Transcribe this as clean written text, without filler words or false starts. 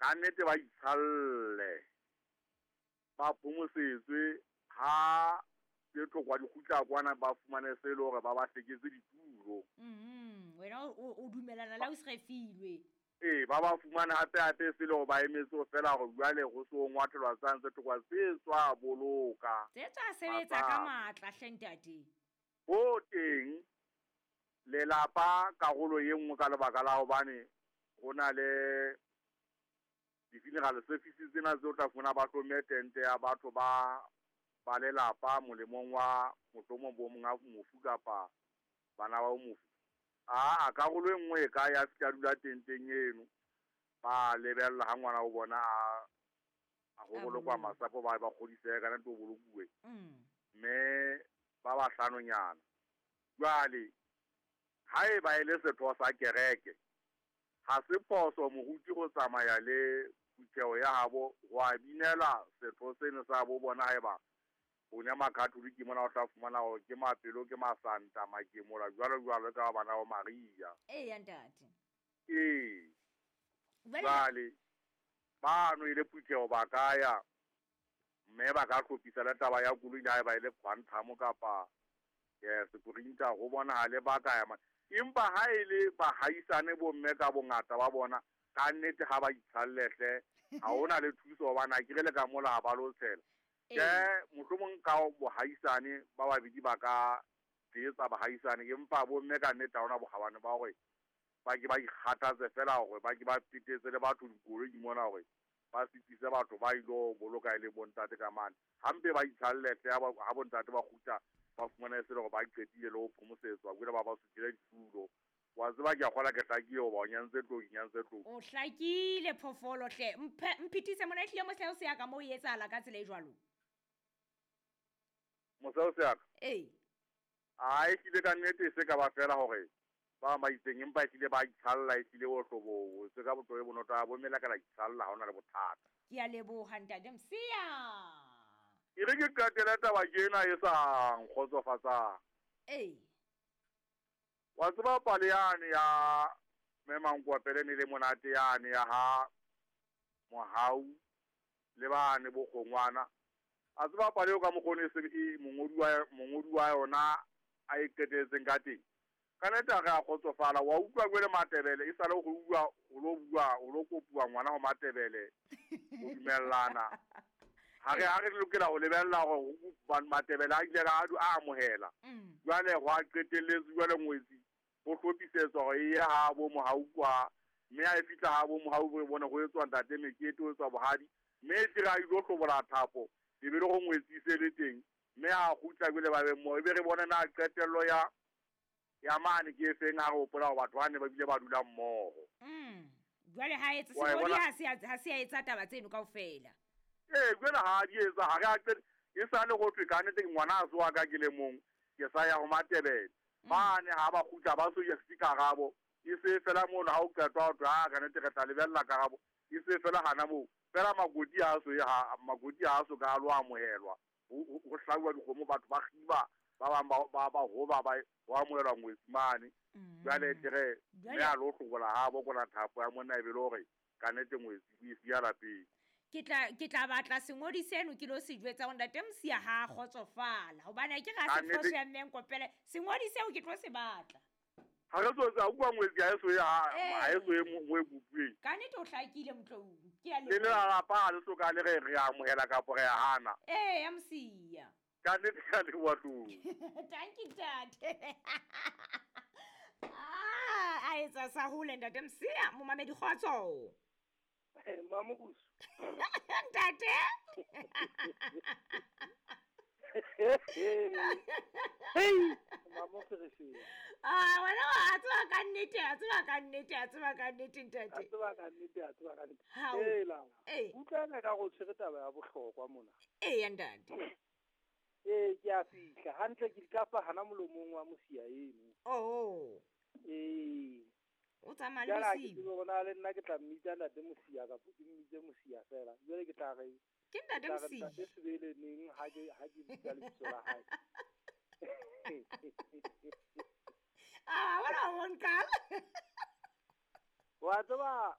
Ka nnete ba itshalle, ba phomosetswe ha tse tlhokwa di kgutla kwana ba fumane se e le hore ba ba hleketse ditulo. Wena o dumelana le ausi Refilwe. Ee, ba ba fumane hape hape se le hore ba emetse ho fela hore jwale ho se ho ngwathelwa tsane tse tlhokwa tse tswa boloka. Tse tswa sebetsa ka matla hle ntate. Ho teng lelapa karolo e nngwe ka lebaka la hobane ho na le di-funeral services tsena tseo tla fumana ba hlomme tente ya batho ba ba lelapa molemong wa mohlomong bo monga mofu kapa bana ba mofu. Aa karolo e nngwe e ka ya fihla dula tenteng eno, ba lebella ha ngwana wa bona a ho bolokwa masapo ba ba kgodisehe ka nnete o bolokuwe. Mme ba bahlanonyana. Jwale haeba e le setho sa kereke, ha se phoso moruti go tsamaya le phutheho ya habo ho a binela setho seno sa bo bona haeba o ne Makatholike mona o tla fumana hore ke mapelo ke masanta makemola jwalo jwalo ka bana ba Maria. Eya ntate. Ee. Jwale bano e le phutheho ba ka ya mme ba ka hlophisa le taba ya koloi le haeba e le Quantum kapa Sprinter ho bonahale ba ka ya. Empa ha e le bahaisane bomme ka bongata ba bona ka nnete ha ba itshalle hle, ha hona le thuso hobane akere le ka mola ha ba lo tshela. Ke mohlomong ka bohaisane ba babedi ba ka tshehetsa bahaisane, empa bomme ka nnete ha hona bokgabane ba hore ba ke ba ikgathatse fela hore ba ke ba petetse le batho dikoloi mona hore ba sitise batho ba ilo boloka e le bontate ka mane. Hampe ba itshalle hle ha bontate ba kgutla ba fumana e se le hore ba qetile le ho phomosetswa jwale ba ba suthile ditulo. Wa tseba ke a kgola ke hlakile hoba o nyantse tlou, ke nyantse tlou. O hlakile phoofolo hle. Mphethise mona ehlile moseo se ya ka moo e etsahala ka tsela e jwalo. Moseo se ya ka? Ee. A ehlile ka nnete e se ka ba fela hore ba bang ba itseng empa ehlile ba itshalla ehlile o hlobo se ka botho e bonolo a bo mela ka la itshalla ha hona le bothata. Ke a leboha ntate Msiya. E re ke qetele taba ke ena e sa nkgotsofatsang. Ee. Wa tseba pale yane ya Mme Mankwapele ne le monate yane ya ha Mohau le bane bo kgongwana. A tseba pale eo ka mokgwa o ne e mongodi wa yona a e qetelletseng ka teng. Ka nnete ha re a kgotsofala, wa utlwa jwale Matebele e sale ho bua, ho lo bua, ho lo kopuwa ngwana ho Matebele ho dumellana. Ha re lokela ho lebella hore Matebele a ile a amohela. Jwale ho a qetelletse jwale ngwetsi ho hlophisetswa hore e ye ha bo Mohau kwa, mme ha e fihla ha bo Mohau re bone ho etswa ntate mekete, ho etswa bohadi, mme e tle re a ilo hlobola thapo, e be le ho ngwetsi se le teng, mme ha kgutla jwale ba be mmoho, e be re bone na qetello ya mane ke e feng ha re hopola hore batho ba ne ba bile ba dula mmoho. Jwale ha etse sengodi ha se a etsa taba tseno kaofela. Ee, jwale ha di etsa, ha re a qete, e sale ho thwe ka nnete ngwana a se wa ka ke le mong, ke sa ya ho Matebele. Mane ha ba kgutla ba so ya se karabo, e se fela mono ha o qetwa ho thwe ha ka nnete re tla lebella karabo, e se fela hana moo. Fela makoti ha so ya, makoti ha so ka lo amohelwa. Ho hlauwa dikgomo batho ba kgiba, ba bang ba hoba ba ho amohelwa ngwetsi mane. Jwale tle mme a lo hlobola ha bo kona thapo ya monna e be le hore ka nnete ngwetsi o e siya lapeng. Ke tla batla sengodi seno ke lo se jwetsa hore ntate Msiya ha a kgotsofala hobane ke ga se phoso ya Mme Nkopele, sengodi seo ke tlo se batla. Ha re so tsa utlwa ngwetsi ha e so ye ha e so ye mo e kopuweng. Ka nnete o hlakile Motloung, ke a leboha. Le lelapa ha le so ka le re amohela kapa re a hana. Ee, ya Msiya. Ka nnete ke a leboha Tlou. Thank you ntate. A etsa sa hole ntate Msiya, momamedi kgotso. Mamokusu. Ntate. Hey, Mamokusu. Ah, wena wa tseba ka nnete, a tseba ka nnete, a tseba ka nnete ntate. A tseba ka nnete, a tseba ka nnete. Ee la. Utlwana ka go tshwere taba ya bohlokwa mona. Ee ntate. Ee, ke a fihla hantle ke di kapa hana molomong wa Mosiya eno. Oh. Ee. O tsamaya le Mosiya. Ke bona le nna ke tla mmitsa ntate Mosiya kapa ke mmitse Mosiya fela. Jwale ke tla re ke ntate Mosiya. Ke sebele neng ha ke bitsa lebitso la hae. Ah, wena o nkala. Wa tseba